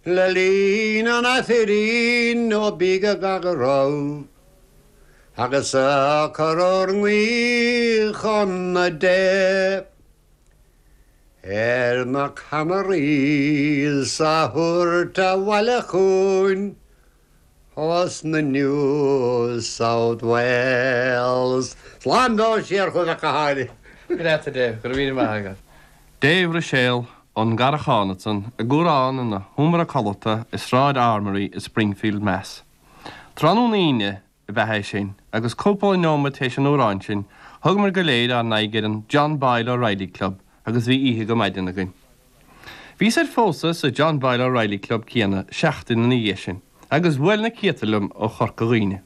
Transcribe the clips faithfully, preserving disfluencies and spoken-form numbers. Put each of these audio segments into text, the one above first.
Le linn an Aifrinn ó bí go raibh. Agus a chur nguí chun na Dé. Ar na camairí sa thuirt a bhile chuin, Os na New South Wales. Slán dó siar chu a caáile. Go Dave, go raibh maith agat. Dave Ruiséal ón gCarrachán ansan i gcumhrán ina sheomra codlata i Sráid Armory i Springfield Mass. Tráthnóna Aoine ab ea é sin, agus cúpla nóiméad théis an amhráin sin, thugamar go léir ár n-aghaidh ar an John Boyle O'Reilly Club agus bhí oíche go maidin againn. Bhíos ar phósadh sa John Boyle O'Reilly Club céanna seachtain ina dhiaidh sin, agus bhuail na céadta liom ó Chorca Dhuibhne.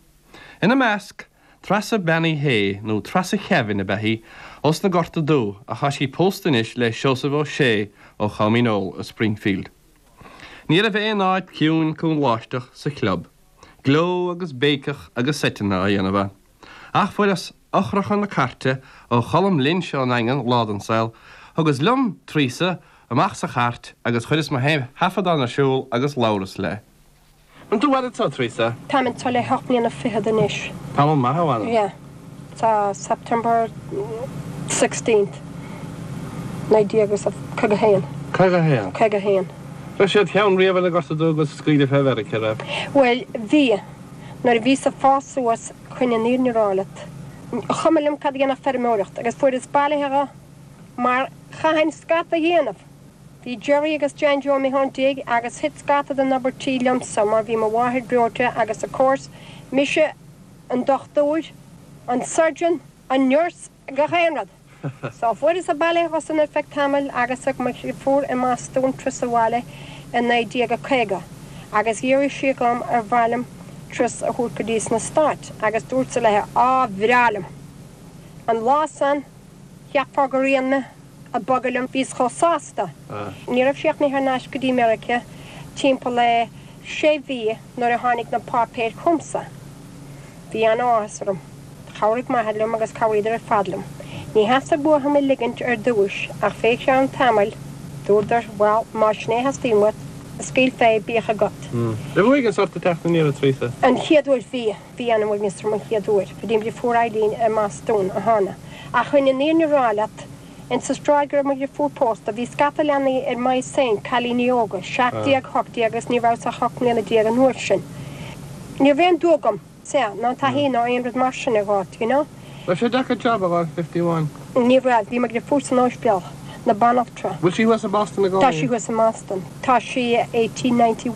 Ina measc, Treasa Bean Uí Shé nó Treasa Kevin ab ea í ós na Gorta Dubh ach tá sí pósta anois le Seosamh Ó Sé ó Chominó i Springfield. Ní raibh aon áit ciúin cúngláisteach sa chlub. Gleo agus béiceach agus seiteanna á dhéanamh ann. Ach fuaireas eochracha na cairte ó Cholm Lynch ón Daingean lá den saol, thugas liom Treasa amach sa chairt agus chuireas mo thaifeadán ar siúl agus labhras léi. An tú bhd tá Treasa? Tá tá le hocht mbliana fichead anois. Tá maith bhana? Yeah. Tá September sixteenth. Naoi déag agus caoga haon. Caoga haon? Caoga haon. Raibh siad cheann riamh na Gorta Dubh agus scaoileadh fé Mheiriceá raibh? Well, bhí nuair a bhíos ag fás suas chun an fhírinne a rá leat. Chuma liom cad dhéanamh feirmeoireacht agus fuaireas bailithe mar chaithfinn scata a dhéanamh. Bhí Jerry agus Jan Joe mé déag agus thit scata den obair tí liomsa mar bhí mo mháthair breoite agus of course mise an dochtúir, an surgeon, an nurse gach aon rud. So fuaireas bailithe san ar feadh tamaill agus ag mo fuair i mBostún turas abhaile i naoi déag a caoga, agus d'iarr sí dhom ar mhaith liom turas a thabhairt go dtí sna Stáit agus dúirt léi á bhreá liom. An lá san cheapfá gur rian mé a bogadh liom bhíos chomh sásta. Ní raibh sí ach thar n-ais go dtí Meiriceá timpeall le sé mhí nuair a tháinig na páipéir chugamsa. Bhí an-áthas orm. Chabhraigh m'athair liom agus chabhraíodar ar fad liom. Ní theastaigh uathu mé ligint ar dtús ach fé cheann tamaill dúradar well má sin é theastaíonn uait scaoil fé bíodh agat. Le bhuaigh an sort teach na níor Treasa? An chéad uair bhí bhí an-uaigneas orm an chéad uair, go dtí fuair Eileen i mBostún a thána. Ach chun an fhírinne a rá leat, in sa stráid go raibh mo dheirfiúr pósta, bhí scata leanaí ar m'aghaidh féin cailíní óga, seacht déag hocht déag agus ní raibh ach ocht mbliana déag an uair sin. Ní raibh aon dua agam se ná taithí ná aon rud mar sin a gháit, you know? Raibh sé deacair job a fháil fifty one. Ní raibh bhí mo dheirfiúr san ospidéal na banaltra. Bhfuil sí thuas i Boston a Tá sí thuas i mBoston. Tá sí eighteen ninety.